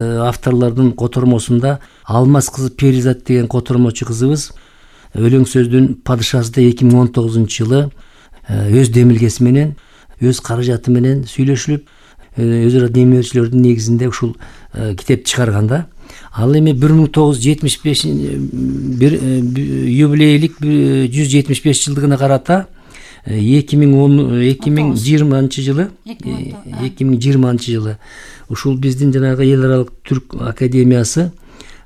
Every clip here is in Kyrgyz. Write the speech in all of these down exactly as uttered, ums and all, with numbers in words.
авторлордун котормосунда Алмаз кызы Перизат деген котормочу кызыбыз өлөң сөздүн падышасы эки миң он тогузунчу жылы өз демилгеси менен, өз каражаты менен сүйлөшүлүп, өзара демөөрчүлөрдүн негизинде ушул китеп чыгарганда, ал эми бир миң тогуз жүз жетимиш беш юбилейлик жүз жетимиш беш жылдыгына карата эки миң жыйырманчы жылы эки миң жыйырманчы жылы ушул биздин жанагы эл аралык түрк академиясы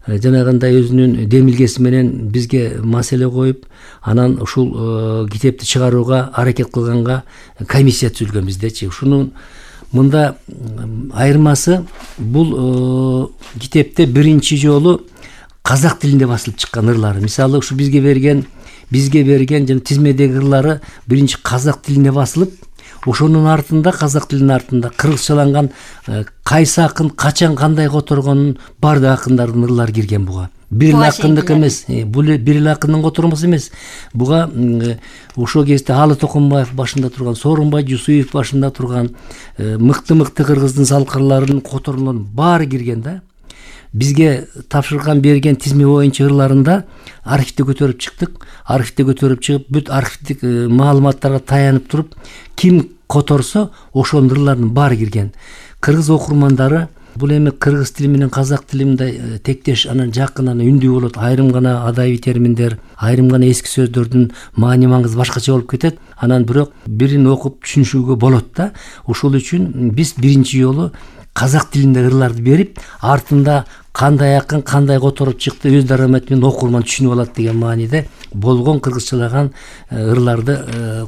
жанагындай өзүнүн демилгеси менен бизге маселе коюп, анан ушул китепти чыгарууга аракет кылганга комиссия түзүлгөн биздечи. Ушунун мында айырмасы, бул китепте биринчи жолу казак тилинде басылып чыккан ырлары. Мисалы, ушу бизге берген бизге берген жана тизмедеги ырлары биринчи казак тилинде басылып, ошонун артында, казак тилинин артында кыргызчаланган кайсы акын качан кандай которгонун баардык акындардын ырлары кирген буга. Бир эле акындык эмес, бул бир эле акындын котормосу эмес. Буга ошол кезде Алы Токонбаев башында турган, Сооронбай Жусуев башында турган мыкты-мыкты кыргыздын салкырларынын которлорунун баары кирген да. Бизге тапшырган берген тизме боюнча ырларында архивде көтөрүп чыктык. Архивде көтөрүп чыгып, бүт архивдик маалыматтарга таянып туруп, ким которсо ошонун ырларынын баары кирген. Кыргыз окурмандары бул эми кыргыз тили менен казак тили мындай тектеш, анан жакын, анан үндүү болот. Айрым гана адабий терминдер, айрым гана эски сөздөрдүн маани маңызы башкача болуп кетет. Анан бирок бирин окуп түшүнүшүгө болот да. Ошол үчүн биз биринчи жолу казак тилинде ырларды берип, артында кандай акын кандай которуп чыкты өз дараматы менен окурман түшүнүп алат деген мааниде болгон кыргызчалаган ырларды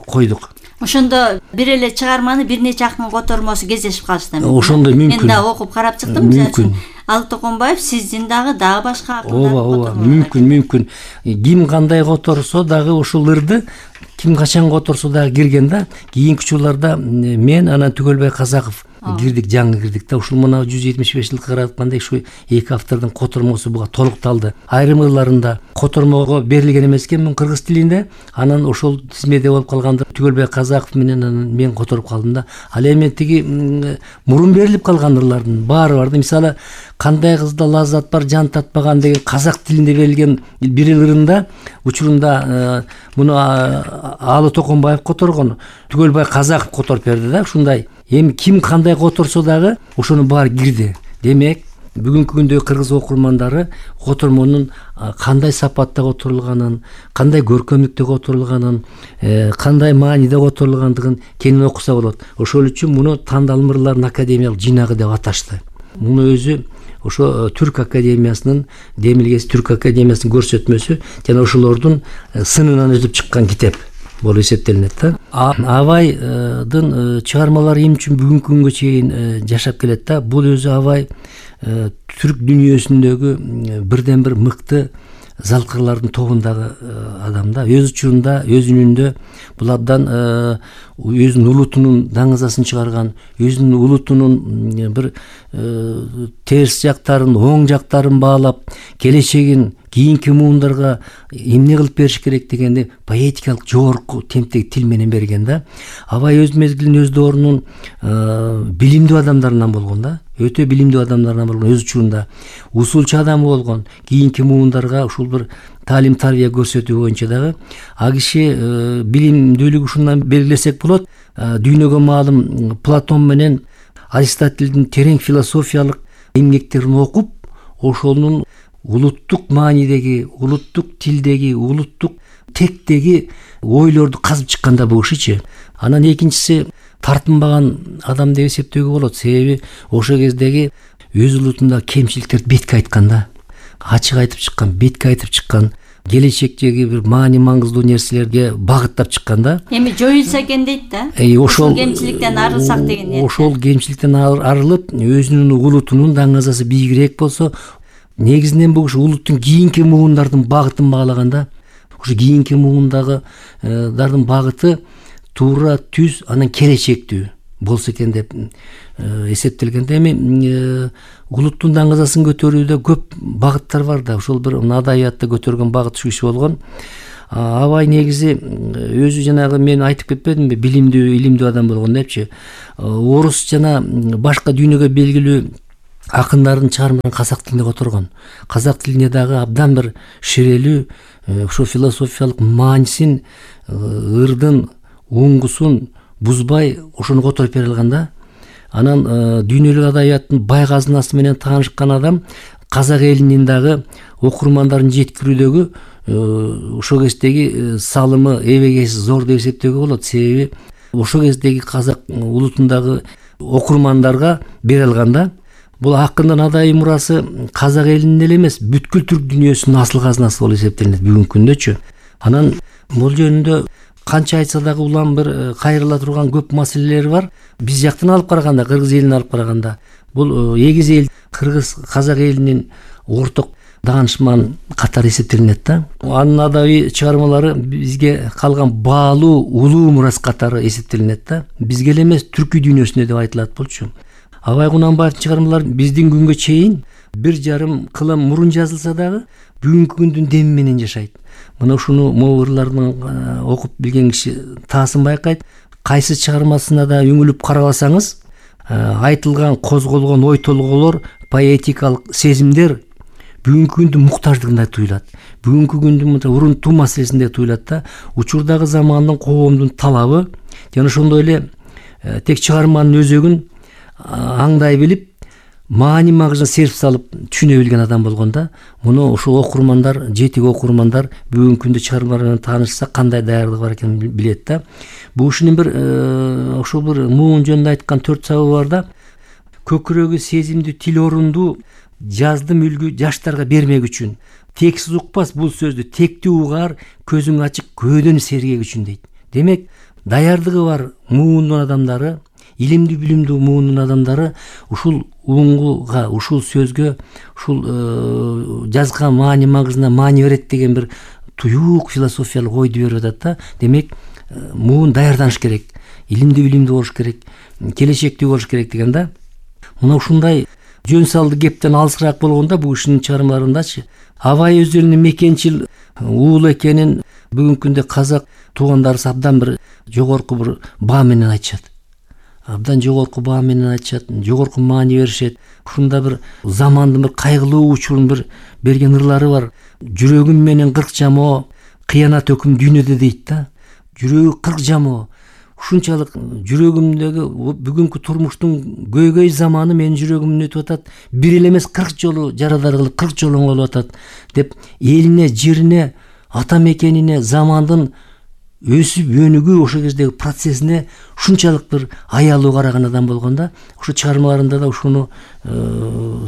койдук. Ошондо бир эле чыгарманы бир нече акын котормосу кездешип калышты. Ошондой мүмкүн. Мен да окуп карап чыктым. Мүмкүн. Алы Токонбаев сиздин дагы дагы башка акындар. Ооба, ооба, мүмкүн, мүмкүн. Ким кандай которсо дагы ушул ырды ким качан которсо дагы кирген да. Кийинки учурларда мен, анан Түгөлбай Казаков кирдик, жаңы кирдик да. Ушул мына жүз жетимиш беш жылга каратканда ушу эки автордун котормосу буга толукталды. Айрым ырларында котормого берилген эмес экен мун кыргыз тилинде. Анан ошол тизмеде болуп калганды Түгөлбай Казаков менен анан мен которуп калдым да. Ал эми тиги мурун берилип калган ырлардын баары бар да. Мисалы, кандай кызда лаззат бар, жан татпаган деген казак тилинде берилген бир ырында учурунда муну Алы Токонбаев которгон, Түгөлбай Казаков которуп берди да. Ушундай эми ким кандай которсо дагы ошонун баары кирди. Демек, бүгүнкү күндө кыргыз окурмандары котормонун кандай сапатта которулганын, кандай көркөмдүктө которулганын, кандай мааниде которулгандыгын кенен окуса болот. Ошол үчүн муну тандалым ырлардын академиялык жыйнагы деп аташты. Муну өзү ошо Түрк академиясынын демилгеси, Түрк академиясынын көрсөтмөсү жана ошолордун сынынан өзүп чыккан китеп болуп эсептелинет да. Абайдын чыгармалары эмне үчүн бүгүнкү күнгө чейин жашап келет да. Бул өзү Абай түрк дүйнөсүндөгү бирден бир мыкты залкырлардын тобундагы адам да. Өз учурунда, өз үнүндө бул абдан өзүнүн улутунун даңазасын чыгарган, өзүнүн улутунун бир терс жактарын, оң жактарын баалап, келечегин кийинки муундарга эмне кылып бериш керек дегенди поэтикалык жогорку темптеги тил менен берген да. Абай өз мезгилинин, өз доорунун билимдүү адамдарынан болгон да. Өтө билимдүү адамдардан болгон, өз учурунда усулчу адам болгон. Кийинки муундарга ушул бир таалим тарбия көрсөтүү боюнча дагы а киши билимдүүлүгү ушундан белгилесек болот. Дүйнөгө маалым Платон менен Аристотельдин терең философиялык эмгектерин окуп, ошонун улуттук маанидеги, улуттук тилдеги, улуттук тектеги ойлорду казып чыкканда бул кишичи. Анан экинчиси тартынбаган адам деп эсептөөгө болот. Себеби ошол кездеги өз улутунда кемчиликтерди бетке айткан да. Ачык айтып чыккан, бетке айтып чыккан, келечектеги бир маани маңыздуу нерселерге багыттап чыккан да. Эми жоюлса экен дейт да. Ошол кемчиликтен арылсак деген ниет. Ошол кемчиликтен арылып, өзүнүн улутунун даңазасы бийигирээк болсо, негизинен бул ушу улуттун кийинки муундардын багытын баалаганда, ушу кийинки муундагы-дардын багыты туура түз, анан келечектүү болсо экен деп эсептелгенде, эми улуттун даңазасын көтөрүүдө көп багыттар бар да. Ошол бир адабиятта көтөргөн багыт ушу киши болгон. Абай негизи өзү жанагы мен айтып кетпедимби, билимдүү, илимдүү адам болгон депчи. Орус жана башка дүйнөгө белгилүү акындардын чыгармаларын казак тилинде которгон. Казак тилине дагы абдан бир шерелүү ошо философиялык маанисин, ырдын, уңгусун бузбай ошону которуп бере алган да. Анан дүйнөлүк адабияттын бай казынасы менен таанышкан адам казак элинин дагы окурмандарын жеткирүүдөгү ошол кездеги салымы эбегейсиз зор деп эсептөөгө болот. Себеби ошол кездеги казак улутундагы окурмандарга бере алган да. Бул акындын адабий мурасы казак элинин эле эмес, бүткүл түрк дүйнөсүнүн асыл казынасы болуп эсептелет бүгүнкү күндөчү. Анан бул жөнүндө канча айтса дагы улам бир кайрыла турган көп маселелер бар. Биз жактан алып караганда, кыргыз элин алып караганда, бул эгиз эл кыргыз казак элинин орток даанышман катары эсептелинет да. Анын адабий чыгармалары бизге калган баалуу, улуу мурас катары эсептелинет да. Бизге эле эмес, түркү дүйнөсүнө деп айтылат болчу. Абай Кунанбаевдин чыгармалары биздин күнгө чейин бир жарым кылым мурун жазылса дагы бүгүнкү күндүн деми менен жашайт. Мына ушуну могурлардын окуп билген киши таасын байкайт. Кайсы чыгармасына да үңүлүп карабасаңыз, айтылган, козголгон ой толгоолор, поэтикалык сезимдер бүгүнкү күндүн муктаждыгында туюлат. Бүгүнкү күндүн урунтуу маселесинде туюлат да. Учурдагы замандын, коомдун талабы жана ошондой эле тек чыгарманын өзөгүн аңдай билип, маани магызын серп салып түшүнө билген адам болгондо, муну ошол окурмандар, жетик окурмандар бүгүнкү күндө чыгармалар менен таанышса кандай даярдыгы бар экенин билет да. Бул ушунун бир ошол бир муун жөнүндө айткан төрт сабабы бар да. Көкүрөгү сезимдүү, тил орундуу, жаздым үлгү жаштарга бермек үчүн. Тексиз укпас бул сөздү, тектүү угар, көзүң ачык, көөдөн сергек үчүн дейт. Демек, даярдыгы бар муундун адамдары, илимдүү билимдүү муунун адамдары ушул уңгуга, ушул сөзгө, ушул жазган маани магызына маани берет деген бир туюк философиялык ойду берип атат да. Демек, муун даярданыш керек, илимдүү билимдүү болуш керек, келечектүү болуш керек деген да. Мына ушундай жөн салды кептен алысыраак болгондо бул кишинин чыгармаларындачы Абай өздөрүнүн мекенчил уул экенин бүгүнкү күндө казак туугандарыбыз абдан бир жогорку бир баа менен айтышат. Абдан жогорку баа менен айтышат, жогорку маани беришет. Ушунда бир замандын бир кайгылуу учурун бир берген ырлары бар. Жүрөгүм менен кырк жамоо, кыянат өкүм дүйнөдө дейт да. Жүрөгү кырк жамоо. Ушунчалык жүрөгүмдөгү бүгүнкү турмуштун көйгөй заманы менин жүрөгүмдөн өтүп атат. Бир эле эмес кырк жолу жарадар кылып кырк жолу оңолуп атат деп элине, жерине, ата мекенине, замандын өсүп өнүгүү ошол кездеги процессине ушунчалык бир аялуу караган адам болгондо, ошо чыгармаларында да ушуну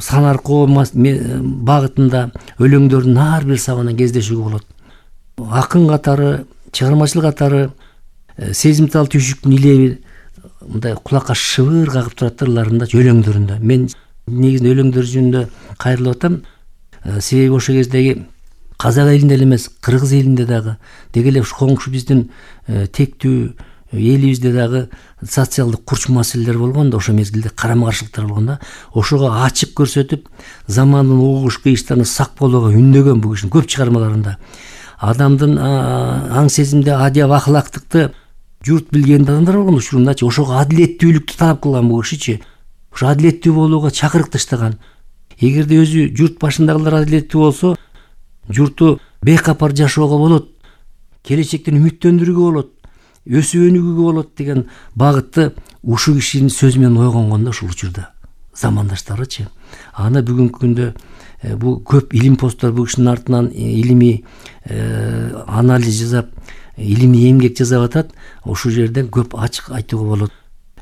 санаркоо багытында өлөңдөрдүн ар бир сабынан кездешүүгө болот. Акын катары, чыгармачыл катары сезимтал түйшүктүн илеби мындай кулакка шыбыр кагып турат ырларында, өлөңдөрүндө. Мен негизинен өлөңдөр жөнүндө кайрылып атам. Себеби ошол кездеги казак элинде эле эмес, кыргыз элинде дагы, деги эле коңшу биздин тектүү элибизде дагы социалдык курч маселелер болгондо, ошол мезгилде карама-каршылыктар болгондо, ошого ачык көрсөтүп, замандын угуш кыйыштарына сак болууга үндөгөн бул кишинин көп чыгармаларында. Адамдын аң сезимде адеп ахлактыкты журт билген адамдар болгон учурундачы, ошого адилеттүүлүктү талап кылган бул кишичи. Ошо адилеттүү болууга чакырык таштаган. Эгерде өзү журт башындагылар адилеттүү болсо, журту бейкапар жашоого болот, келечектен үмүттөндүрүүгө болот, өсүп өнүгүүгө болот деген багытты ушул кишинин сөзү менен ойгонгон да ушул учурда замандаштарычы. Аны бүгүнкү күндө бул көп илим посттор бул кишинин артынан илимий анализ жасап, илимий эмгек жасап атат. Ушул жерден көп ачык айтууга болот.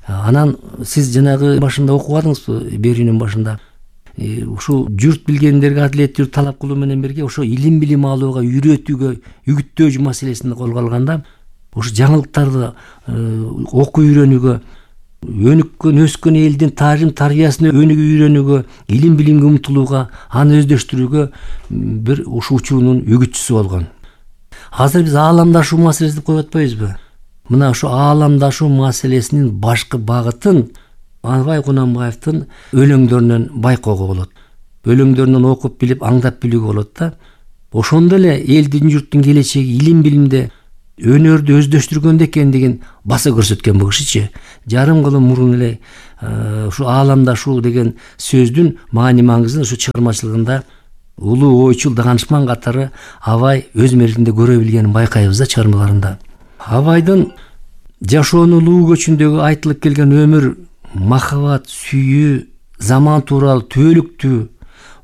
Анан сиз жанагы башында окубадыңызбы, берүүнүн башында? Ушул журт билгендерге адилеттүүлүк талап кылуу менен бирге ошо илим билим алууга, үйрөтүүгө, үгүттөө маселесин колго алганда, ошо жаңылыктарды окуп үйрөнүүгө, өнүккөн, өскөн элдин тарым тарбиясына өнүгүп үйрөнүүгө, илим билимге умтулууга, аны өздөштүрүүгө бир ушул учурунун үгүтчүсү болгон. Азыр биз ааламдашуу маселесин коюп атпайбызбы? Мына ошо ааламдашуу маселесинин башкы багытын Абай Кунанбаевдин өлөңдөрүнөн байкоого болот. Өлөңдөрүнөн окуп билип, аңдап билүүгө болот да. Ошондо эле элдин, журттун келечеги илим билимде өнөрдү өздөштүргөндө экендигин баса көрсөткөн бул кишичи. Жарым кылым мурун эле ушу ааламда шу деген сөздүн маани маңызын ушу чыгармачылыгында улуу ойчул даанышман катары Абай өз мезгилинде көрө билгенин байкайбыз да чыгармаларында. Абайдын жашоонун көчүндөгү айтылып келген өмүр, махабат, сүйүү, заман тууралуу түбөлүктүү,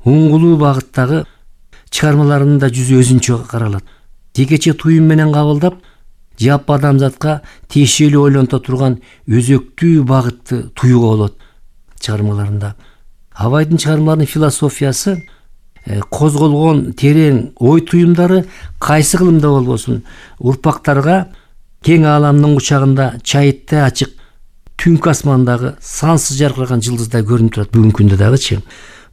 уңгулуу багыттагы чыгармаларында жүзү өзүнчө каралат. Жекече туюм менен кабылдап, жаппа адамзатка тиешелүү ойлонто турган өзөктүү багытты туюуга болот чыгармаларында. Абайдын чыгармаларынын философиясы, козголгон терең ой туюмдары кайсы кылымда болбосун урпактарга кең ааламдын кучагында чайыттай ачык түнкү асмандагы сансыз жаркыраган жылдыздай көрүнүп турат бүгүнкү күндө дагычы.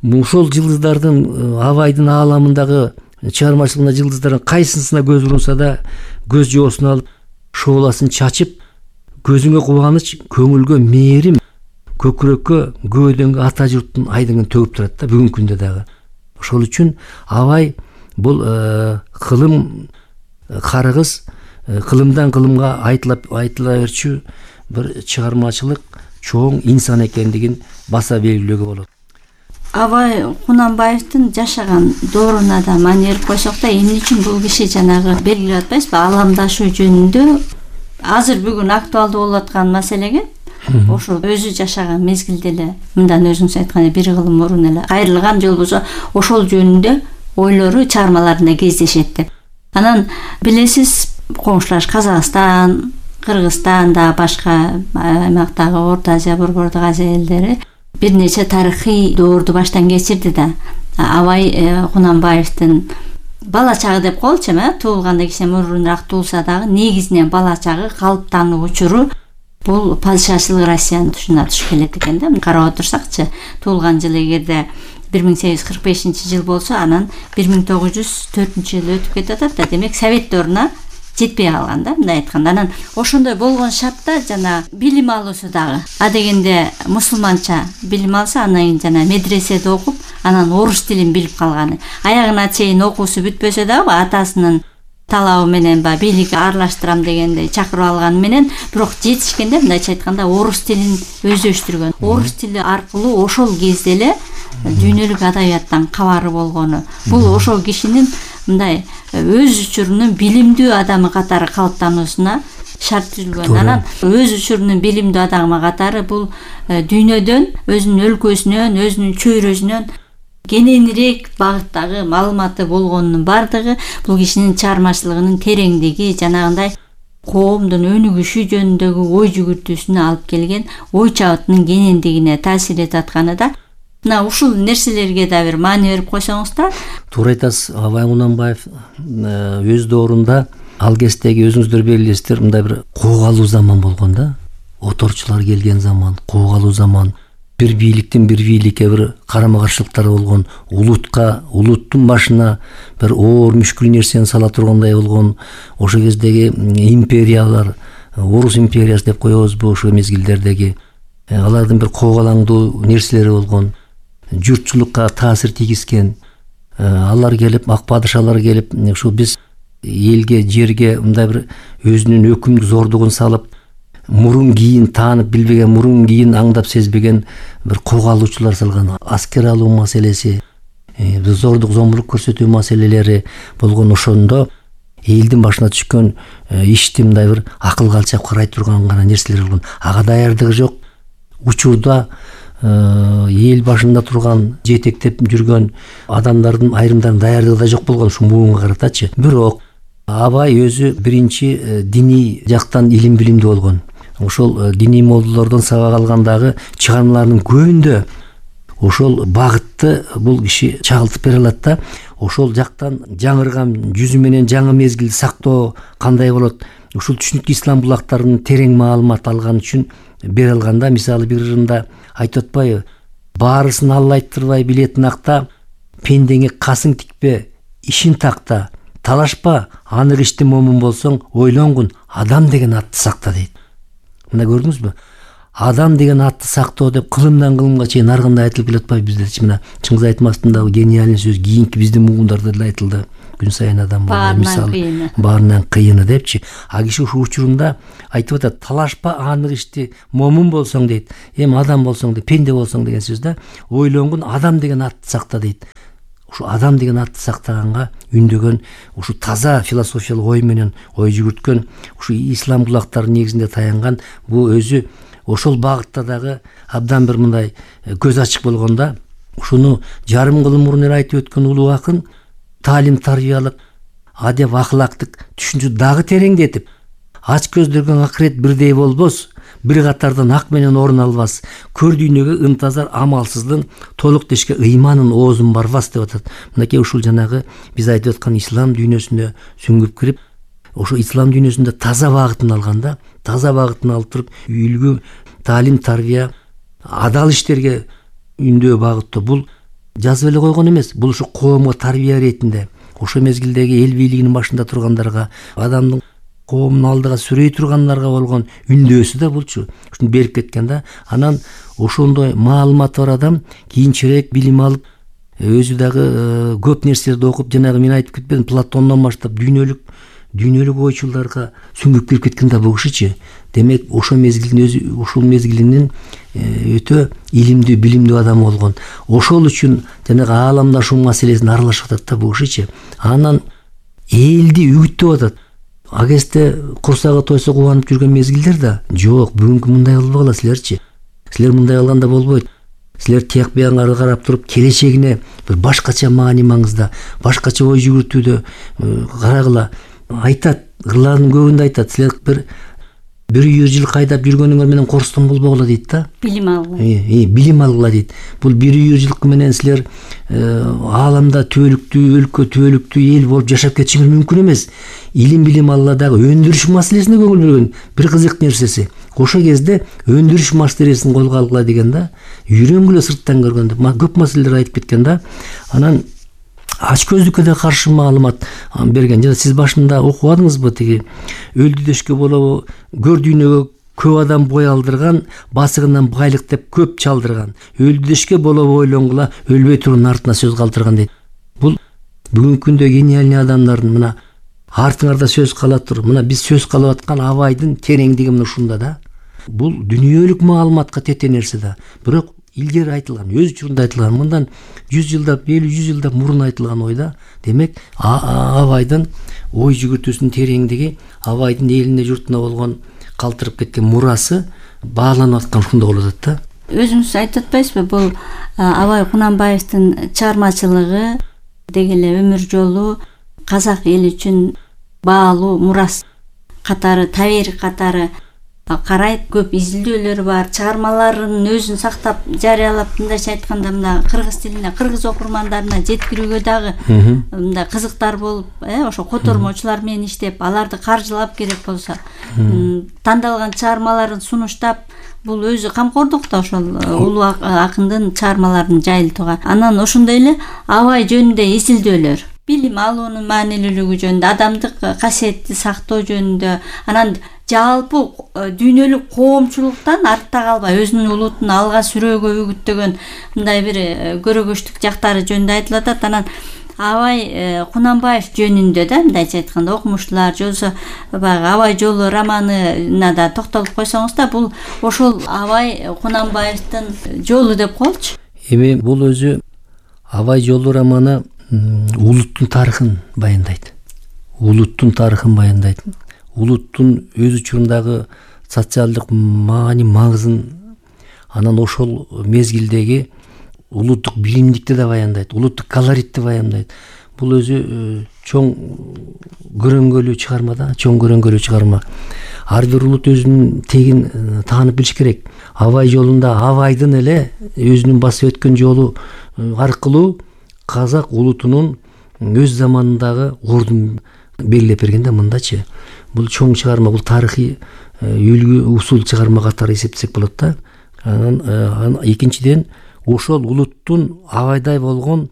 Ошол жылдыздардын Абайдын ааламындагы чыгармачылыгында жылдыздардын кайсысына көз урунса да көз жоосун алып, шооласын чачып, көзүңө кубаныч, көңүлгө мээрим, көкүрөккө көөдөнгө ата журттун айдыгын төгүп турат да бүгүнкү күндө дагы. Ошол үчүн Абай бул кылым карыгыз, кылымдан кылымга айтыла айтыла берчү бир чыгармачылык чоң инсан экендигин баса белгилөөгө болот. Абай Кунанбаевдин жашаган дооруна да маани берип койсок да, эмне үчүн бул киши жанагы белгилеп атпайсызбы, ааламдашуу жөнүндө азыр бүгүн актуалдуу болуп аткан маселеге ошол өзү жашаган мезгилде эле, мындан өзүңүз айткандай бир кылым мурун эле кайрылган же болбосо ошол жөнүндө ойлору чыгармаларында кездешет деп. Анан билесиз, коңшулаш Казакстан, Кыргызстан да башка аймактагы Орто Азия, Борбордук Азия элдери бир нече тарыхый доорду баштан кечирди да. Абай Кунанбаевдин бала чагы деп коелучу, туулганда кичине мурунураак туулса дагы негизинен бала чагы калыптануу учуру бул падышачылык Россиянын тушуна туш келет экен да. Карап отурсакчы, туулган жылы эгерде бир миң сегиз жүз кырк бешинчи жыл болсо, анан бир миң тогуз жүз төртүнчү жыл өтүп кетип атат да. Демек совет дооруна жетпей калган да, мындай айтканда. Анан ошондой болгон шартта жана билим алуусу дагы а дегенде мусулманча билим алса, анан жана медреседе окуп, анан орус тилин билип калганы. Аягына чейин окуусу бүтпөсө дагы атасынын талабы менен ба бийликке аралаштырам дегенде чакырып алганы менен, бирок жетишкенде мындайча айтканда орус тилин өздөштүргөн. Орус тили аркылуу ошол кезде эле дүйнөлүк адабияттан кабары болгону. Бул ошол кишинин мындай өз учурунун билимдүү адамы катары калыптануусуна шарт түзүлгөн. Анан өз учурунун билимдүү адамы катары бул дүйнөдөн, өзүнүн өлкөсүнөн, өзүнүн чөйрөсүнөн кененирээк багыттагы маалыматы болгонунун бардыгы бул кишинин чыгармачылыгынын тереңдиги, жанагындай коомдун өнүгүшү жөнүндөгү ой жүгүртүүсүнө алып келген ой чабытынын кенендигине таасир этип атканы да. Мына ушул нерселерге да бир маани берип койсоңуз да. Туура айтасыз. Абай Кунанбаев өз доорунда ал кездеги өзүңүздөр белгилейсиздер, мындай бир куугалуу заман болгон да. Оторчулар келген заман, куугалуу заман. Бир бийликтин бир бийликке бир карама каршылыктары болгон, улутка, улуттун башына бир оор мүшкүл нерсени сала тургандай болгон. Ошол кездеги империялар, Орус империясы деп коебузбу, ошол мезгилдердеги алардын бир коогалаңдуу нерселери болгон. Журтчулукка таасир тийгизген. Алар келип, ак падышалар келип, ушул биз элге, жерге мындай бир өзүнүн өкүмдүк зордугун салып, мурун кийин таанып билбеген, мурун кийин аңдап сезбеген бир куугалуучулар салган. Аскер алуу маселеси, зордук зомбулук көрсөтүү маселелери болгон. Ошондо элдин башына түшкөн ишти мындай бир акылга алчап карай турган гана нерселер болгон. Ага даярдыгы жок. Учурда эл башында турган, жетектеп жүргөн адамдардын айрымдардын даярдыгы да жок болгон ушу муунга каратачы. Бирок Абай өзү биринчи диний жактан илим билимдүү болгон. Ошол диний молдолордон сабак алгандагы чыгармаларынын көбүндө ошол багытты бул киши чагылтып бере алат да. Ошол жактан жаңырган жүзү менен жаңы мезгилди сактоо кандай болот? Ушул түшүнүк ислам булактарынын терең маалымат алган үчүн бере алганда, мисалы бир ырында айтып атпайбы? Баарысын Алла айттырбай билетин акта, пендеңе касың тикпе, ишин такта, талашпа, анык ишти момун болсоң, ойлонгун, адам деген атты сакта дейт. Мына көрдүңүзбү? Адам деген атты сактоо деп кылымдан кылымга чейин ар кандай айтылып келип атпайбы биздечи? Мына Чыңгыз Айтматовдун дагы гениальный сөз, кийинки биздин муундарда деле айтылды. күн сайын адам болбойт, мисалы кыйыны. Баарынан кыйыны депчи. А киши ушул учурунда айтып атат, талашпа анық ишти, момун болсоң дейт, эми адам болсоң дейт, пенде болсоң деген сөз да. Ойлонгун адам деген атты сакта дейт. Ушу адам деген атты сактаганга үндөгөн, ушу таза философиялык ой менен ой жүгүрткөн, ушу ислам кулактары негизинде таянган бул өзү ошол багытта дагы абдан бир мындай көз ачык болгондо, ушуну жарым кылым мурун эле айтып өткөн улуу акын таалим тарбиялык, адеп ахлактык түшүнчү дагы тереңдетип, ач көздөргөн акырет бирдей болбос, бир катардан ак менен орун албас, көр дүйнөгө ынтазар амалсыздын, толук дешке ыйманын оозун барбас деп атат. Мынакей ушул жанагы биз айтып аткан ислам дүйнөсүнө сүңгүп кирип, ошо ислам дүйнөсүндө таза багытын алганда, таза багытын алып туруп, үлгү, таалим, тарбия, адал иштерге үндөө багыттоо. Бул жазып эле койгон эмес, бул ушу коомго тарбия иретинде, ошо мезгилдеги эл бийлигинин башында тургандарга, адамдын коомдун алдыга сүрөй тургандарга болгон үндөөсү да булчу. Ушуну берип кеткен да. Анан ошондой маалыматы бар адам кийинчерээк билим алып, өзү дагы көп нерселерди окуп, жанагы мен айтып кетпедим, Платондон баштап дүйнөлүк дүйнөлүк ойчулдарга сүңгүп кирип кеткен да бул кишичи. Демек ошо мезгилдин өзү, ушул мезгилинин өтө илимдүү, билимдүү адам болгон. Ошол үчүн жанагы ааламдашуу маселесин аралашып атат да бул кишичи. Анан элди үгүттөп атат. А кезде курсагы тойсо кубанып жүргөн мезгилдер да жок, бүгүнкү мындай болбогула силерчи. Силер мындай кылганда болбойт. Силер тияк буяңга карап туруп, келечегине бир башкача маани маңызда, башкача ой жүгүртүүдө карагыла. Айтат, ырлардын көбүндө айтат, силер бир бир жүз жыл кайдап жүргөнүңөр менен корстон болбогула дейт да. Билим алгыла. Э, билим алгыла дейт. Бул бир жүз жылкы менен силер ааламда түбөлүктүү өлкө, түбөлүктүү эл болуп жашап кетишиңер мүмкүн эмес. Илим билим алгыла дагы өндүрүш маселесине көңүл бөлгөн бир кызык нерсеси. Ошол кезде өндүрүш маселесин колго алгыла деген да. Үйрөнгүлө сырттан көргөндө көп маселелер айтып кеткен да. Анан ач көздүккө да каршы маалымат берген. Жана сиз башында окубадыңызбы, тиги өлдү дешке болобу, көр дүйнөгө көп адам бой алдырган, басыгынан байлык деп көп чалдырган. Өлдү дешке болобу ойлонгула, өлбөй турун артына сөз калтырган дейт. Бул бүгүнкү күндө гениальный адамдардын мына артыңарда сөз кала тур. Мына биз сөз кылып аткан абайдын тереңдиги мына ушунда да. Бул дүнүйөлүк маалыматка тете нерсе да. Бирок илгери айтылган, өз учурунда айтылган, мындан жүз жылдап, элүү жүз жылдап мурун айтылган ойда. Демек, абайдын ой жүгүртүүсүнүн тереңдиги, абайдын элине журтуна болгон калтырып кеткен мурасы бааланып аткан ушунда болуп атат да. Өзүңүз айтып атпайсызбы, бул Абай Кунанбаевдин чыгармачылыгы, деги эле өмүр жолу казак эли үчүн баалуу мурас катары, таберик катары карайт, көп изилдөөлөрү бар, чыгармаларын өзүн сактап жарыялап, мындайча айтканда мына кыргыз тилине, кыргыз окурмандарына жеткирүүгө дагы мындай кызыктар болуп, э ошо котормочулар менен иштеп, аларды каржылап керек болсо, тандалган чыгармаларын сунуштап, бул өзү камкордук да ошол улуу акындын чыгармаларын жайылтууга. Анан ошондой эле Абай жөнүндө изилдөөлөр, билим алуунун маанилүүлүгү жөнүндө, адамдык касиетти сактоо жөнүндө, анан жалпы дүйнөлүк коомчулуктан артта калбай өзүнүн улутун алга сүрөөгө үгүттөгөн мындай бир көрөгөчтүк жактары жөнүндө айтылып атат. Анан Абай Кунанбаев жөнүндө да мындайча айтканда окумуштуулар жолсо баягы Абай жолу романына да токтолуп койсоңуз да, бул ошол Абай Кунанбаевдин жолу деп коелучу. Эми бул өзү Абай жолу романы улуттун тарыхын баяндайт. Улуттун тарыхын баяндайт. Улуттун өз учурундагы социалдык маани маңызын, анан ошол мезгилдеги улуттук билимдикти да баяндайт, улуттук колоритти баяндайт. Бул өзү чоң көрөңгөлүү чыгарма да, чоң көрөңгөлүү чыгарма. Ар бир улут өзүнүн тегин таанып билиш керек. Абай жолунда Абайдын эле өзүнүн басып өткөн жолу аркылуу казак улутунун өз заманындагы ордун белгилеп берген да мындачы. Бул чоң чыгарма, бул тарыхый үлгү усул чыгарма катары эсептесек болот да. Анан экинчиден ошол улуттун Абайдай болгон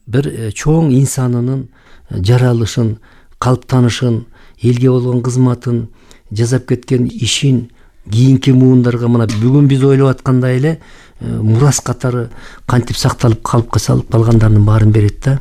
бир чоң инсанынын жаралышын, калыптанышын, элге болгон кызматын, жасап кеткен ишин кийинки муундарга мына бүгүн биз ойлоп аткандай эле мурас катары кантип сакталып калыпка салып калгандарынын баарын берет да.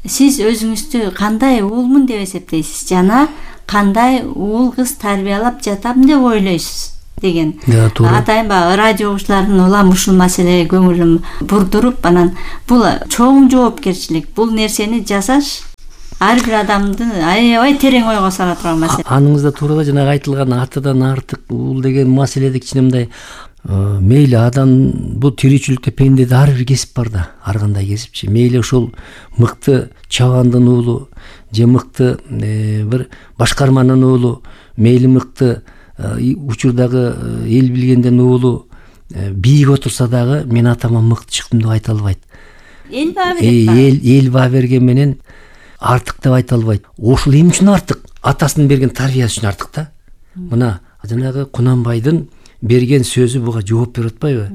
сиз өзүңүздү кандай уулмун деп эсептейсиз жана кандай уул кыз тарбиялап жатам деп ойлойсуз деген. Атайын баягы радио угуучулардын улам ушул маселеге көңүлүн бурдуруп, анан бул чоң жоопкерчилик. Бул нерсени жасаш ар бир адамды аябай терең ойго сала турган маселе. Аныңызда туура жанагы айтылган атадан артык уул деген маселеде кичине мындай мейли адам бул тиричиликте пендеде ар бир кесип бар да, ар кандай кесипчи. Мейли ушул мыкты чабандын уулу же мыкты бир башкарманын уулу, мейли мыкты учурдагы эл билгенден уулу бийик отурса дагы мен атама мыкты чыктым деп айта албайт. Эл баа берет. Эл эл баа берген менен артык деп айта албайт. Ошол эмне үчүн артык? Атасынын берген тарбиясы үчүн артык да. Мына жанагы Кунанбайдын берген сөзү буга жооп берип атпайбы?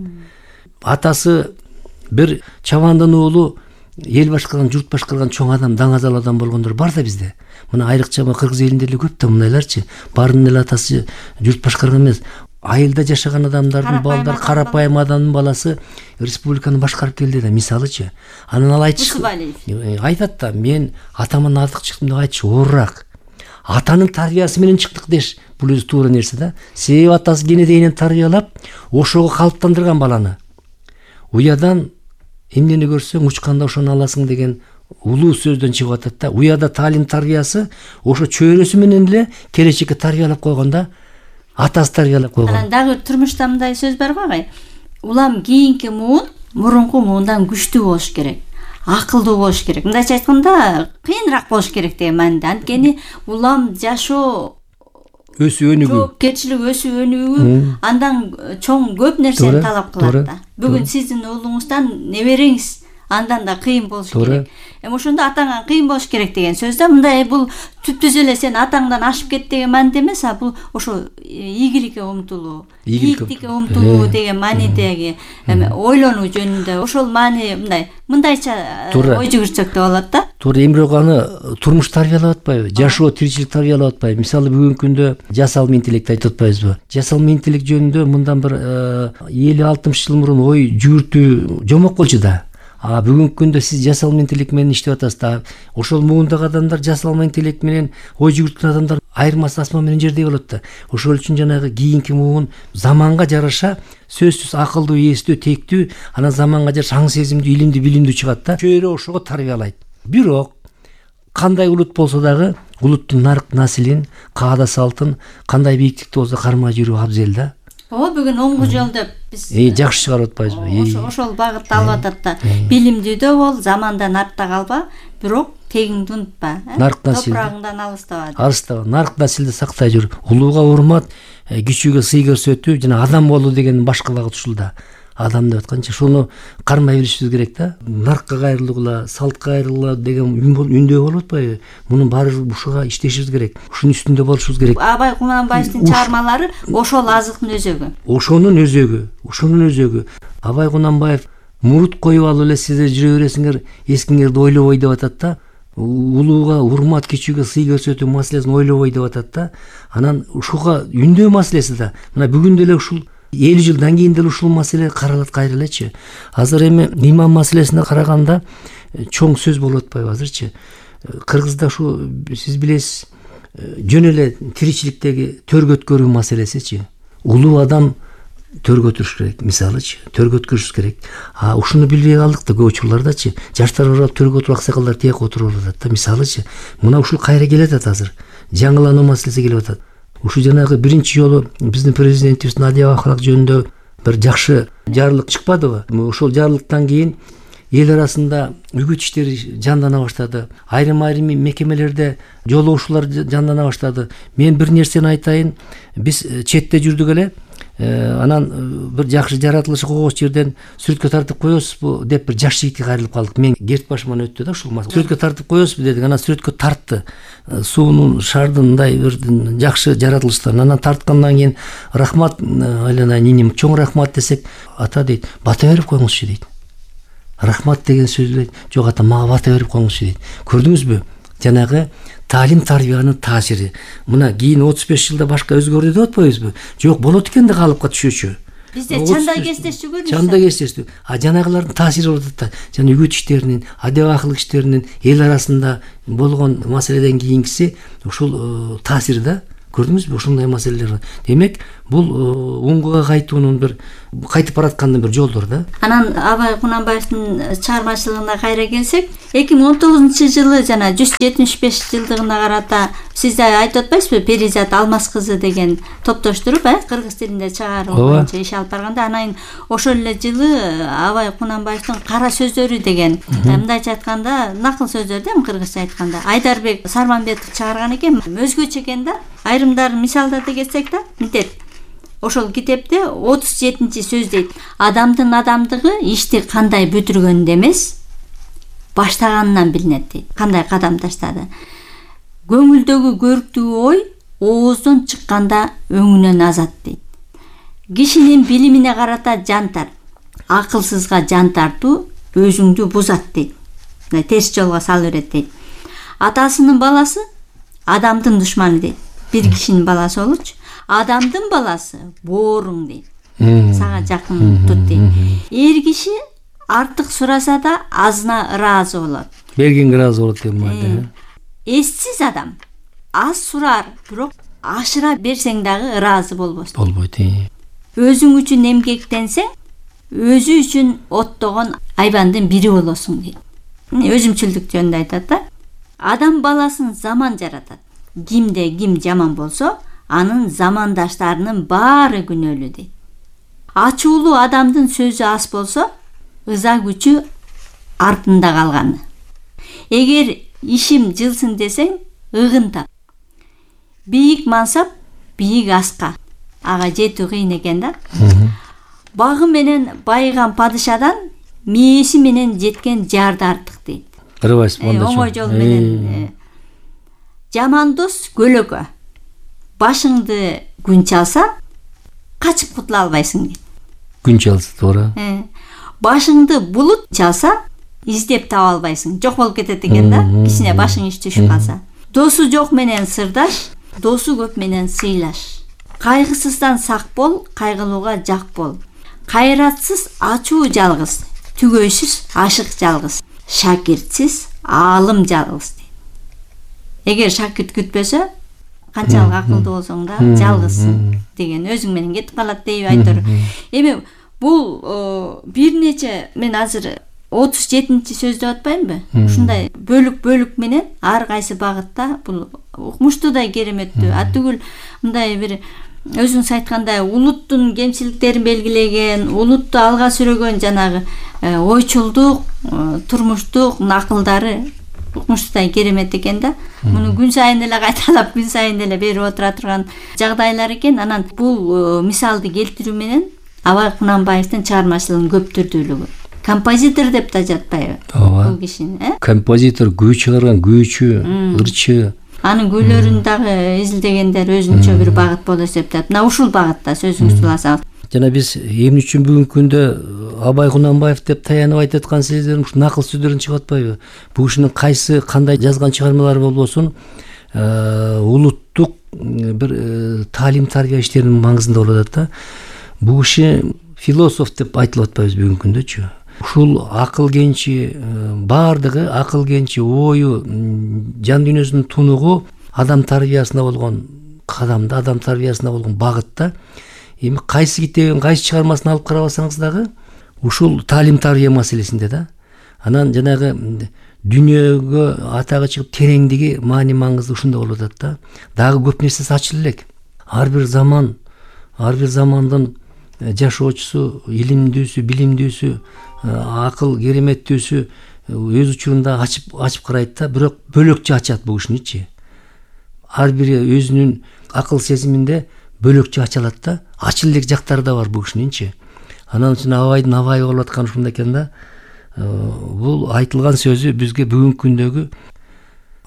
Атасы бир чабандын уулу, эл башкарган, журт башкарган чоң адам, даңазал адам болгондор бар да бизде. Мына айрыкча кыргыз элинде эле көп да мындайларчы. Баарынын эле атасы журт башкарган эмес. Айылда жашаган адамдардын балдар, карапайым адамдын баласы республиканы башкарып келди да, мисалычы. Анан ал айтчы, айтат да, мен атаман артык чыктым деп айтчы, оорак. Атанын тарбиясы менен чыктык деш. Бул өзү туура нерсе да. Себеби атасы кенедейинен тарбиялап, ошого калыптандырган баланы. Уядан эмнени көрсөң, учканда ошону аласың деген улуу сөздөн чыгып атат да. Уяда таалим тарбиясы ошо чөйрөсү менен эле келечекке тарбиялап койгон да. Атасы тарбиялап койгон. Анан дагы турмушта мындай сөз бар го агай. Улам кийинки муун мурунку муундан күчтүү болуш керек. Акылдуу болуш керек. Мындайча айтканда, кыйыныраак болуш керек деген мааниде. Анткени улам жашоо өсүү өнүгүү, жоопкерчилик өсүү өнүгүү андан чоң көп нерсени талап кылат да. Бүгүн сиздин уулуңуздан небереңиз андан да кыйын болуш керек. Эми ошондо атаңан кыйын болуш керек деген сөз да. Мындай бул түптүз эле сен атаңдан ашып кет деген мааниде эмес, а бул ошо ийгиликке умтулуу, ийгиликке умтулуу деген маанидеги эми ойлонуу жөнүндө ошол маани мындай мындайча ой жүгүртсөк деп болот да. Туура, эмирок аны турмуш тарбиялап атпайбы? Жашоо, тиричилик тарбиялап атпайбы? Мисалы бүгүнкү күндө жасалма интеллект айтып атпайбызбы? Жасалма интеллект жөнүндө мындан бир элүү алтымыш жыл мурун ой жүгүртүү жомок болчу да. А бүгүнкү күндө сиз жасалма интеллект менен иштеп атасыз да. Ошол муундагы адамдар жасалма интеллект менен ой жүгүрткөн адамдар айырмасы асман менен жердей болот да. Ошол үчүн жанагы кийинки муун заманга жараша сөзсүз акылдуу, эстүү, тектүү, анан заманга жараша аң сезимдүү, илимдүү, билимдүү чыгат да. Чөйрө ошого тарбиялайт. Бирок кандай улут болсо дагы улуттун нарк наслин, каада салтын кандай бийиктикте болсо кармай жүрүү абзел да. О, бүгүн оңгу жол деп биз жакшы чыгарып атпайбызбы? Ошол багытты алып атат да. Билимдүү бол, замандан артта калба, бирок тегиңди унутпа. Нарк насил. Топурагыңдан алыстаба. Алыстаба. Нарк насилди сактай жүр. Улууга урмат, кичүүгө сый көрсөтүү жана адам болуу деген башка багыт ушул да. Адам деп атканча шуну кармай билишибиз керек да. Наркка кайрылгыла, салтка кайрылгыла деген үндөө болуп атпайбы? Мунун баары ушуга иштешибиз керек. Ушунун үстүндө болушубуз керек. Абай Кунанбаевдин чыгармалары ошол азыктын өзөгү. Ошонун өзөгү, ошонун өзөгү. Абай Кунанбаев мурут коюп алып эле сиздер жүрө бересиңер, эскиңерди ойлобой деп атат да. Улууга урмат, кичүүгө сый көрсөтүү маселесин ойлобой деп атат да. Анан ушуга үндөө маселеси да. Мына бүгүн деле ушул элүү жылдан кийин деле ушул маселе каралат кайра элечи. Азыр эми имам маселесине караганда чоң сөз болуп атпайбы азырчы? Кыргызда ушу сиз билесиз, жөн эле тиричиликтеги төргө өткөрүү маселесичи. Улуу адам төргө өтүрүш керек, мисалычы, төргө өткөрүш керек. А ушуну билбей калдык да көп учурлардачы. Жаштар барып төргө отуруп, аксакалдар тияк отуруп атат да, мисалычы. Мына ушул кайра келет азыр. Жаңылануу маселеси келип атат. Ушу жанагы биринчи жолу биздин президентибиз Надия Ахалак жөнүндө бир жакшы жарлык чыкпадыбы? Ошол жарлыктан кийин эл арасында үгүт иштери жандана баштады. Айрым-айрым мекемелерде жолугушуулар жандана баштады. Мен бир нерсени айтайын, биз четте жүрдүк эле, анан бир жакшы жаратылышы койгос жерден сүрөткө тартып коесузбу деп бир жаш жигитке кайрылып калдык. Мен керт башыман өттү да ушул маселе. Сүрөткө тартып коесузбу дедик, анан сүрөткө тартты. Суунун шардын мындай бир жакшы жаратылыштан. Анан тарткандан кийин рахмат айланайын ниним, чоң рахмат десек, ата дейт, бата берип коюңузчу дейт. Рахмат деген сөздү жок ата, мага бата берип коюңузчу дейт. Көрдүңүзбү? Жанагы таалим тарбиянын таасири. Мына кийин отуз беш жылда башка өзгөрдү деп атпайбызбы? Жок, болот экен да калыпка түшүүчү. бизде чандай кестештүү көрүнүш. Чандай кестештүү. А жанагылардын таасири болуп атат да. Жана үгүт иштеринин, адеп акылык иштеринин эл арасында болгон маселеден кийинкиси ушул таасир да. Көрдүңүзбү ушундай маселелер. Демек, бул уңгуга кайтуунун бир кайтып бараткандын бир жолдор да. Анан Абай Кунанбаевдин чыгармачылыгына кайра келсек, эки миң он тогузунчу жылы жана жүз жетимиш беш жылдыгына карата сиз да айтып атпайсызбы, Перизат Алмаз кызы деген топтоштуруп, э, кыргыз тилинде чыгаруу боюнча иш алып барганда, анан ошол эле жылы Абай Кунанбаевдин Кара сөздөрү деген, мындайча айтканда, накыл сөздөр да, кыргызча айтканда, Айдарбек Сарманбетов чыгарган экен. Өзгөчө экен да. Айрымдар мисалдарды кетсек да, мынтет. Ошол китепте отуз жетинчи сөз дейт. Адамдын адамдыгы ишти кандай бүтүргөндө эмес, баштаганынан билинет дейт. Кандай кадам таштады. Көңүлдөгү көрктүү ой ооздон чыкканда өңүнөн азат дейт. Кишинин билимине карата жантар, акылсызга жан тартуу өзүңдү бузат дейт. Терс жолго салып берет дейт. Атасынын баласы адамдын душманы дейт. Бир кишинин баласы болчу. Адамдын баласы бооруң дейт. Сага жакын тут дейт. Эр киши артык сураса да азына ыраазы болот. Бергенге ыраазы болот деп мында. Эссиз адам аз сурар, бирок ашыра берсең дагы ыраазы болбос. Болбойт. Өзүң үчүн эмгектенсең, өзү үчүн оттогон айбандын бири болосуң дейт. Өзүмчүлдүк жөнүндө айтат да. Адам баласын заман жаратат. Кимде ким жаман болсо, анын замандаштарынын баары күнөөлүү дейт. Ачуулуу адамдын сөзү аз болсо, ыза күчү артында калганы. Эгер ишим жылсын десең, ыгын тап. Бийик мансап, бийик аска. Ага жетүү кыйын экен да. Багы менен байыган падышадан мээси менен жеткен жарды артык дейт. Кырбайсыз монда. Оңой жол менен. Жаман дос көлөкө. Башыңды күн чалса, качып кутула албайсың дейт. Күн чалса, туура. Башыңды булут чалса, издеп таба албайсың. Жок болуп кетет экен да, кичине башың иш түшүп калса. Досу жок менен сырдаш, досу көп менен сыйлаш. Кайгысыздан сак бол, кайгылууга жак бол. Кайратсыз ачуу жалгыз, түгөйсүз ашык жалгыз. Шакиртсиз аалым жалгыз. Эгер шакирт күтпөсө, канчалык акылдуу болсоң да жалгызсың деген өзүң менен кетип калат дейби айтор. Эми бул бир нече, мен азыр отуз жетинчи сөз деп атпаймынбы? Ушундай бөлүк-бөлүк менен ар кайсы багытта бул укмуштуудай кереметтүү. А түгүл мындай бир өзүңүз айткандай улуттун кемчиликтерин белгилеген, улутту алга сүрөгөн жанагы ойчулдук, турмуштук накылдары укмуштуудай керемет экен да. Муну күн сайын эле кайталап, күн сайын эле берип отура турган жагдайлар экен. Анан бул мисалды келтирүү менен Абай Кунанбаевдин чыгармачылыгынын көптүрдүүлүгү. Композитор деп да жатпайбы? Бул кишини, э? Композитор, күү чыгарган, күүчү, ырчы. Анын күйлөрүн дагы изилдегендер өзүнчө бир багыт болуп эсептелет. Мына ушул багытта сөзүңүздү уласаңыз. Жана биз эмне үчүн бүгүнкү күндө Абай Кунанбаев деп таянып айтып аткан сездерим ушу накыл сөздөрүн чыгып атпайбы? Бул кишинин кайсы кандай жазган чыгармалары болбосун, улуттук бир таалим тарбия иштеринин маңызында болуп атат да. Бул киши философ деп айтылып атпайбыз бүгүнкү күндөчү. Ушул акыл кенчи, баардыгы акыл кенчи, ою, жан дүйнөсүнүн тунугу адам тарбиясына болгон кадамда, адам тарбиясына болгон багытта. Эми кайсы китебин, кайсы чыгармасын алып карабасаңыз дагы ушул таалим тарбия маселесинде да. Анан жанагы дүйнөгө атагы чыгып тереңдиги, маани маңызы ушунда болуп атат да. Дагы көп нерсеси ачылып элек. Ар бир заман, ар бир замандын жашоочусу, илимдүүсү, билимдүүсү, акыл кереметтүүсү өз учурунда ачып ачып карайт да, бирок бөлөкчө ачат бул кишиничи. Ар бири өзүнүн акыл сезиминде бөлөкчө ачалат да, ачыл элек жактары да бар бул кишининчи. Анан үчүн Абайдын Абай болуп атканы ушунда экен да. Бул айтылган сөзү бизге бүгүнкү күндөгү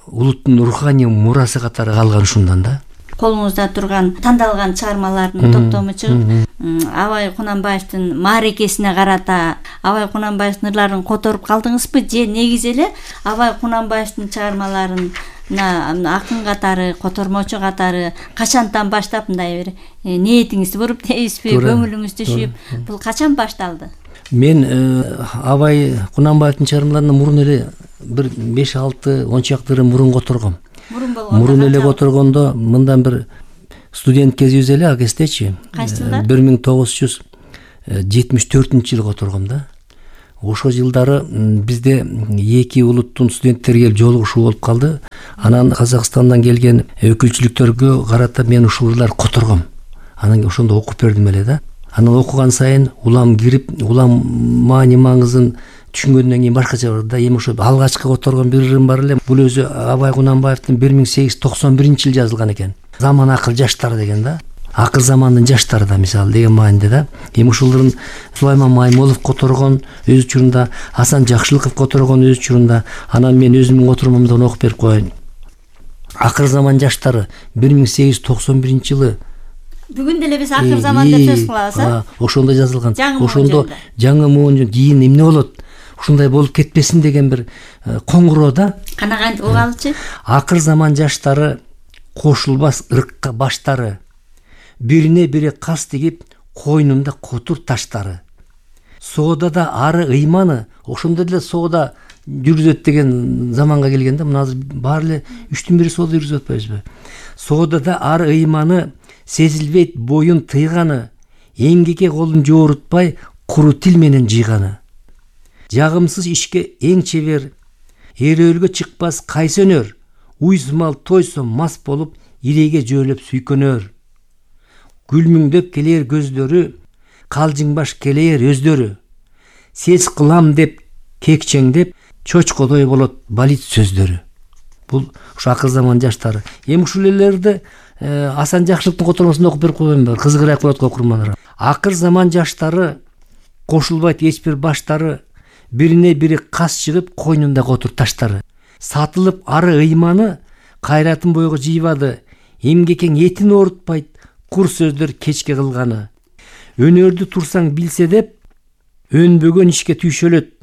улуттун руханий мурасы катары калган ушундан да. Колуңузда турган тандалган чыгармалардын топтому чыгып, Абай Кунанбаевдин маарекесине карата Абай Кунанбаевдин ырларын которуп калдыңызбы же негизи эле Абай Кунанбаевдин чыгармаларын мына акын катары, котормочу катары качантан баштап мындай бир ниетиңизди буруп дейсизби, көңүлүңүз түшүп, бул качан башталды? Мен Абай Кунанбаевдин чыгармаларынан мурун эле бир беш алты он чакты мурун которгом. Мурун болгондо мурун эле которгондо мындан бир студент кезибиз эле, а кездечи кайсы жылдар? бир миң тогуз жүз жетимиш төртүнчү жылы которгом да. Ошол жылдары бизде эки улуттун студенттери келип жолугушуу болуп калды. Анан Казакстандан келген өкүлчүлүктөргө карата мен ушул жылдар которгом. Анан ошондо окуп бердим эле да. Анан окуган сайын улам кирип, улам маани маңызын түшүнгөндөн кийин башкача бар да. Эми ошо алгачкы которгон бир ырым бар эле. Бул өзү Абай Кунанбаевдин бир миң сегиз жүз токсон биринчи жылы жазылган экен. Заман акыл жаштары деген да. Акыл замандын жаштары да мисалы деген мааниде да. Эми ушулардын Сулайман Маймолов которгон өз учурунда, Асан Жакшылыков которгон өз учурунда. Анан мен өзүмдүн котормомдон окуп берип коеюн. Акыл заман жаштары бир миң сегиз жүз токсон биринчи жылы. Бүгүн деле биз акыр заман деп сөз кылабыз, а? Ошондо жазылган. Ошондо жаңы моон кийин эмне болот? Ушундай болуп кетпесин деген бир коңгуроо да. Кана кантип угалчы? Акыр заман жаштары кошулбас ырыкка баштары, бирине бири кас тигип койнунда котур таштары. Соодада ары ыйманы, ошондо деле соода жүргүзөт деген заманга келгенде, мына азыр баары эле үчтөн бири соода жүргүзүп атпайбызбы? Соодада ары ыйманы, сезилбейт боюн тыйганы, эмгекке колун жоорутпай куру тил менен жыйганы. Жагымсыз ишке эң чебер, эрөөлгө чыкпас кайсы өнөр, уйсумал тойсо мас болуп илейге жөөлөп сүйкөнөр. Күлмүңдөп келер көздөрү, калжыңбаш келер өздөрү. Сез кылам деп кекчеңдеп, чочкодой болот балит сөздөрү. Бул ушу акыл заман жаштары. Эми ушул элерди Асан Жакшылыктын котормосунда окуп берип койгон бар, кызыгыраак болот окурмандар. Акыр заман жаштары кошулбайт эч бир баштары, бирине бири кас чыгып койнунда котур таштары. Сатылып ары ыйманы, кайратын бойго жыйбады, эмгекең этин оорутпайт, кур сөздөр кечке кылганы. Өнөрдү турсаң билсе деп, өнбөгөн ишке түйшөлөт,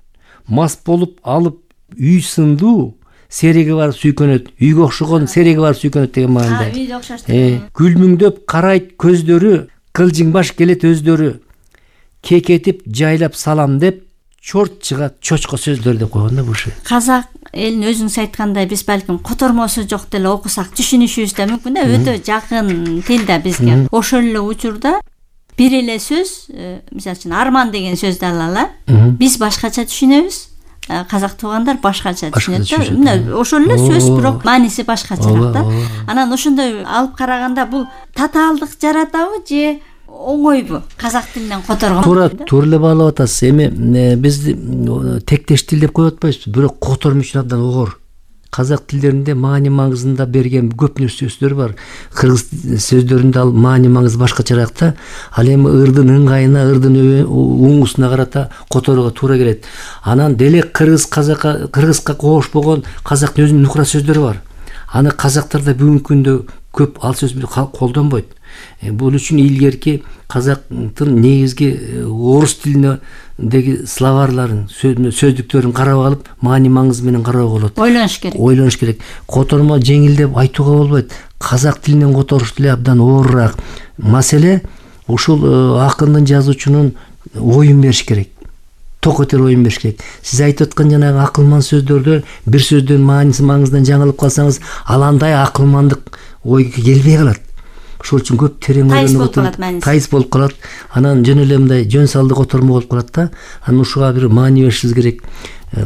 мас болуп алып үй сындуу, сереги бар сүйкөнөт, үйгө окшогон сереги бар сүйкөнөт деген маанында. Үйгө окшоштур. Күлмүңдөп карайт көздөрү, кылжыңбаш келет өздөрү. Кекетип жайлап салам деп, чорт чыгат чочко сөздөр деп койгон да бул уши. Казак элин өзүңүз айткандай биз балким котормосу жок деле окусак түшүнүшүбүз да мүмкүн да, өтө жакын тил да бизге. Ошол эле учурда бир эле сөз, мисалы үчүн арман деген сөздү алалы, биз башкача түшүнөбүз. Казак туугандар башкача түшүнөт да. Мына ошол эле сөз, бирок мааниси башкачараак да. Анан ошондой алып караганда бул татаалдык жаратабы же оңойбу казак тилинен которгон? Туура, туура эле баалап атасыз. Эми биз тектеш тил деп коюп атпайбызбы? Бирок котормо үчүн абдан огор. Казак тилдеринде маани маңызында берген көп сөздөр бар. Кыргыз сөздөрүндө ал маани маңызы башкачараак да. Ал эми ырдын ыңгайына, ырдын уңусуна карата которууга туура келет. Анан деле кыргыз казакка, кыргызга коош болгон казактын өзүнүн нукура сөздөрү бар. Аны казактар да бүгүнкү күндө көп ал сөздү колдонбойт. Бул үчүн илгерки казактын негизги орус тилиндеги словарларын, сөздүктөрүн карап алып, маани маңызы менен кароого болот. Ойлонуш керек. Ойлонуш керек. Котормо жеңил деп айтууга болбойт. Казак тилинен которуш деле абдан оорураак. Маселе ушул акындын, жазуучунун оюн бериш керек. Ток этер оюн бериш керек. Сиз айтып аткан жанагы акылман сөздөрдө бир сөздүн мааниси маңызынан жаңылып калсаңыз, ал андай акылмандык ойго келбей калат. Ошол үчүн көп терең ойлонуп отуруп, тайыз болуп калат. Анан жөн эле мындай жөн салды котормо болуп калат да. Анан ушуга бир маани беришибиз керек.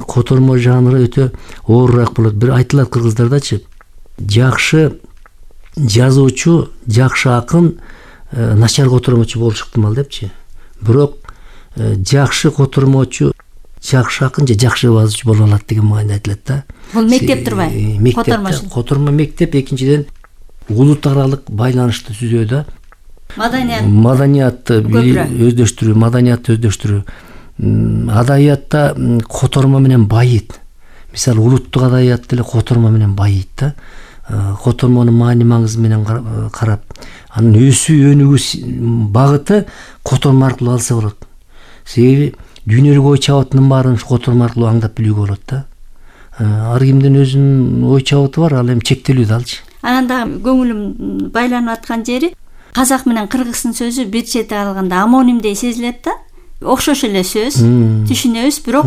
Котормо жанры өтө оорураак болот. Бир айтылат кыргыздардачы, жакшы жазуучу, жакшы акын начар котормочу болушу ыктымал депчи. Бирок жакшы котормочу, жакшы акын же жакшы жазуучу боло алат деген маани айтылат да. Бул мектеп турбайбы? Мектеп, котормо мектеп. Экинчиден улут аралык байланышты түзүүдө маданият маданиятты өздөштүрүү, маданиятты өздөштүрүү. Адабиятта котормо менен байыйт. Мисалы улуттук адабият деле котормо менен байыйт да. Котормонун маани маңызы менен карап, анын өсүү өнүгүү багыты котормо аркылуу алса болот. Себеби дүйнөлүк ой чабытынын баарын котормо аркылуу аңдап билүүгө болот да. ар кимдин өзүнүн ой чабыты бар, ал эми чектелүү да алчы. Анан дагы көңүлүм байланып аткан жери казак менен кыргыздын сөзү бир чети алганда амонимдей сезилет да. Окшош эле сөз, түшүнөбүз, бирок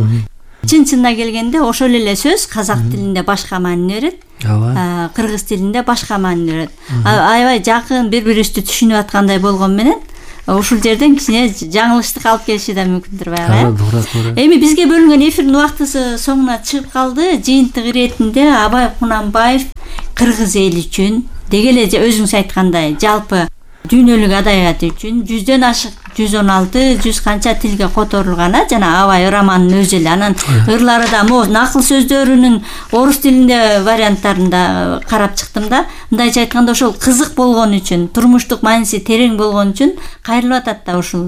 чын чынына келгенде ошол эле сөз казак тилинде башка маани берет, ооба, кыргыз тилинде башка маани берет. Аябай жакын бири-бирибизди түшүнүп аткандай болгон менен ушул жерден кичине жаңылыштык алып келиши да мүмкүндүр баягы. Эми бизге бөлүнгөн эфирдин убактысы соңуна чыгып калды. Жыйынтык иретинде Абай Кунанбаев кыргыз эли үчүн деги эле өзүңүз айткандай жалпы дүйнөлүк адабият үчүн жүздөн ашык жүз он алты жүз канча тилге которулган жана Абай романынын өзү эле, анан ырлары да могу накыл сөздөрүнүн орус тилинде варианттарында карап чыктым да. Мындайча айтканда ошол кызык болгон үчүн, турмуштук мааниси терең болгон үчүн кайрылып атат да ушул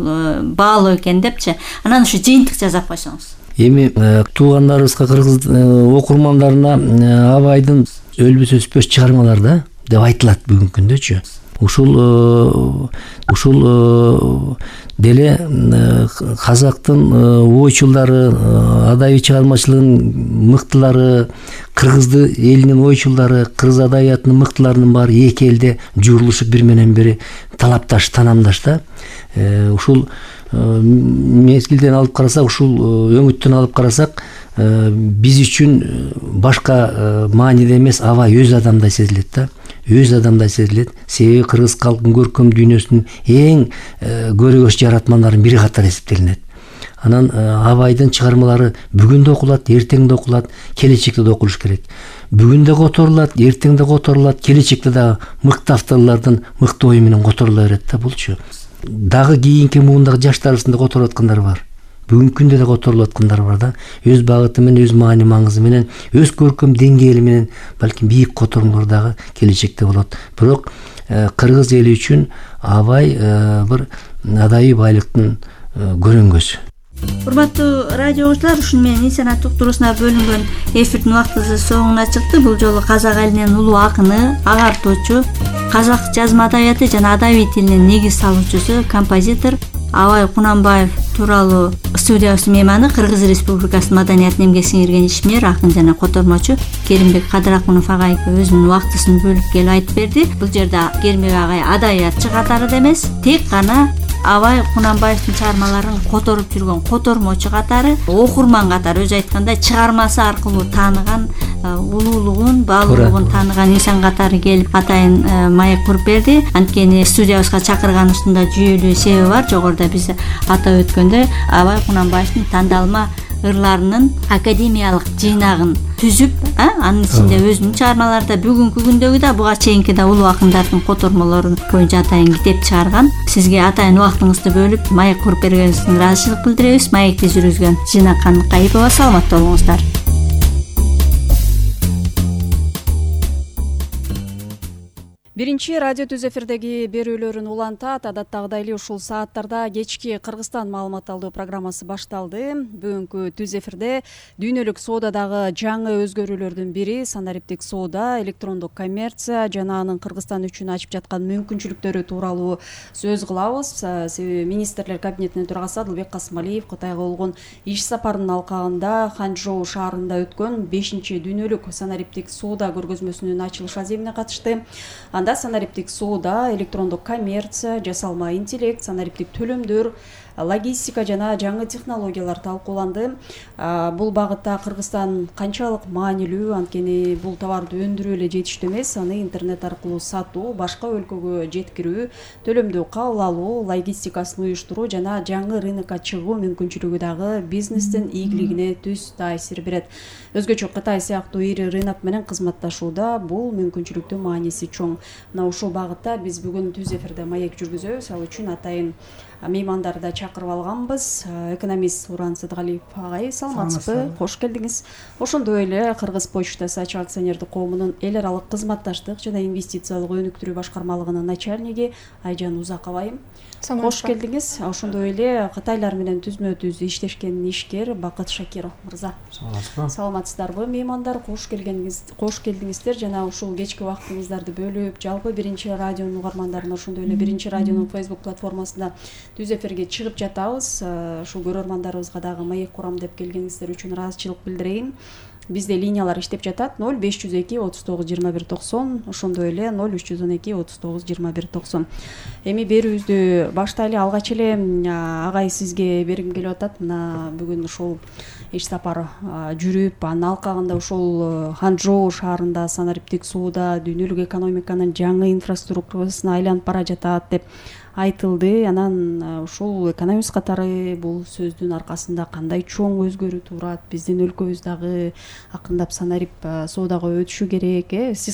баалуу экен депчи. Анан ушу жыйынтык жасап койсоңуз. Эми туугандарыбызга, кыргыз окурмандарына Абайдын өлбөс өспөс чыгармалары да деп айтылат бүгүнкү күндөчү. Ушул ушул деле казактын ойчулдары, адабий чыгармачылыгынын мыктылары, кыргызды элинин ойчулдары, кыргыз адабиятынын мыктыларынын баары эки элде журулушуп бир менен бири талапташ, таанамдаш да. Ушул мезгилден алып карасак, ушул өңүттөн алып карасак, биз үчүн башка мааниде эмес, Абай өз адамдай сезилет да. Өз адамдай сезилет. Себеби кыргыз калкынын көркөм дүйнөсүнүн эң көрөгөч жаратмандардын бири катары эсептелинет. Анан Абайдын чыгармалары бүгүн да окулат, эртең да окулат, келечекте да окулуш керек. Бүгүн да которулат, эртең да которулат, келечекте дагы мыкты авторлордун мыкты ою менен которула берет да булчу. Дагы кийинки муундагы жаштарыбыздын да которуп аткандары бар. Бүгүнкү күндө да которулуп аткандар бар да. Өз багыты менен, өз маани маңызы менен, өз көркөм деңгээли менен балким бийик которуулар дагы келечекте болот. Бирок кыргыз эли үчүн Абай бир адабий байлыктын көрөнгөсү. Урматтуу радио угуучулар, ушуну менен инсанат уктуруусуна бөлүнгөн эфирдин убактысы соңуна чыкты. Бул жолу казак элинин улуу акыны, агартуучу, казак жазма адабияты жана адабий тилинин негиз салуучусу, композитор Абай Кунанбаев тууралуу студиябыздын мейманы, Кыргыз Республикасынын маданиятын эмгек сиңирген ишмер, акын жана котормочу Керимбек Кадыракунов агай өзүнүн убактысын бөлүп келип айтып берди. Бул жерде Керимбек агай адабиятчы катары да эмес, тек гана Абай Кунанбаевдин чыгармаларын которуп жүргөн котормочу катары, окурман катары, өзү айткандай чыгармасы аркылуу тааныган, улуулугун, баалуулугун тааныган инсан катары келип атайын маек куруп берди. Анткени студиябызга чакырганыбыздын да жүйөлүү себеби бар. Жогоруда биз атап өткөндөй Абай Кунанбаевдин тандалма ырларынын академиялык жыйнагын түзүп, анын ичинде өзүнүн чыгармалары да, бүгүнкү күндөгү да, буга чейинки да улуу акындардын котормолорун боюнча атайын китеп чыгарган. Сизге атайын убактыңызды бөлүп маек куруп бергениңиз үчүн ыраазычылык билдиребиз. Маекти жүргүзгөн Жина Каныкаипова, саламатта болуңуздар. Биринчи радио түз эфирдеги берүүлөрүн улантат. Адаттагыдай эле ушул сааттарда кечки Кыргызстан маалымат алуу программасы башталды. Бүгүнкү түз эфирде дүйнөлүк соодадагы жаңы өзгөрүүлөрдүн бири санариптик соода, электрондук коммерция жана анын Кыргызстан үчүн ачып жаткан мүмкүнчүлүктөрү тууралуу сөз кылабыз. Себеби министрлер кабинетинин төрагасы Адылбек Касымалиев Кытайга болгон иш сапарынын алкагында Ханчжоу шаарында өткөн бешинчи дүйнөлүк санариптик соода көргөзмөсүнүн ачылыш аземине катышты. Анда санариптик соода, электрондук коммерция, жасалма интеллект, санариптик төлөмдөр, логистика жана жаңы технологиялар талкууланды. Бул багытта Кыргызстан канчалык маанилүү, анткени бул товарды өндүрүү эле жетиштүү эмес, аны интернет аркылуу сатуу, башка өлкөгө жеткирүү, төлөмдү кабыл алуу, логистикасын уюштуруу жана жаңы рынокко чыгуу мүмкүнчүлүгү дагы бизнестин ийгилигине түз таасир берет. Өзгөчө Кытай сыяктуу ири рынок менен кызматташууда бул мүмкүнчүлүктүн мааниси чоң. Мына ушул багытта биз бүгүн түз эфирде маек жүргүзөбүз. Ал үчүн атайын меймандарды да чакырып алганбыз. Экономист Уран Сыдыгалиев агай, саламатсызбы? Кош келдиңиз. Ошондой эле Кыргыз почтасы ачык акционердик коомунун эл аралык кызматташтык жана инвестициялык өнүктүрүү башкармалыгынын начальниги Айжан Узакова айым. Кош келдиңиз. Ошондой эле Кытайлар менен түзмө түз иштешкен ишкер Бакыт Шакиров мырза. Саламатсызбы? Саламатсыздарбы меймандар? Кош келгениңиз, кош келдиңиздер жана ушул кечки убактыңыздарды бөлүп, жалпы биринчи радионун угармандарына, ошондой эле биринчи радионун Facebook платформасында түз эфирге чыгып жатабыз. Ушул көрөрмандарыбызга дагы маек курам деп келгениңиздер үчүн ыраазычылык билдирейин. бизде линиялар иштеп жатат ноль беш жүз эки отуз тогуз жыйырма бир токсон, ошондой эле ноль үч жүз он эки отуз тогуз жыйырма бир токсон. Эми берүүбүздү баштайлы. Алгач эле агай сизге бергим келип атат. Мына бүгүн ушул иш сапар жүрүп, анын алкагында ушул Ханчжоу шаарында санариптик сууда дүйнөлүк экономиканын жаңы инфраструктурасына айланып бара жатат деп айтылды. Анан ушул экономист катары бул сөздүн аркасында кандай чоң өзгөрүү туулат, биздин өлкөбүз дагы акырындап санарип соодага өтүшү керек. Э сиз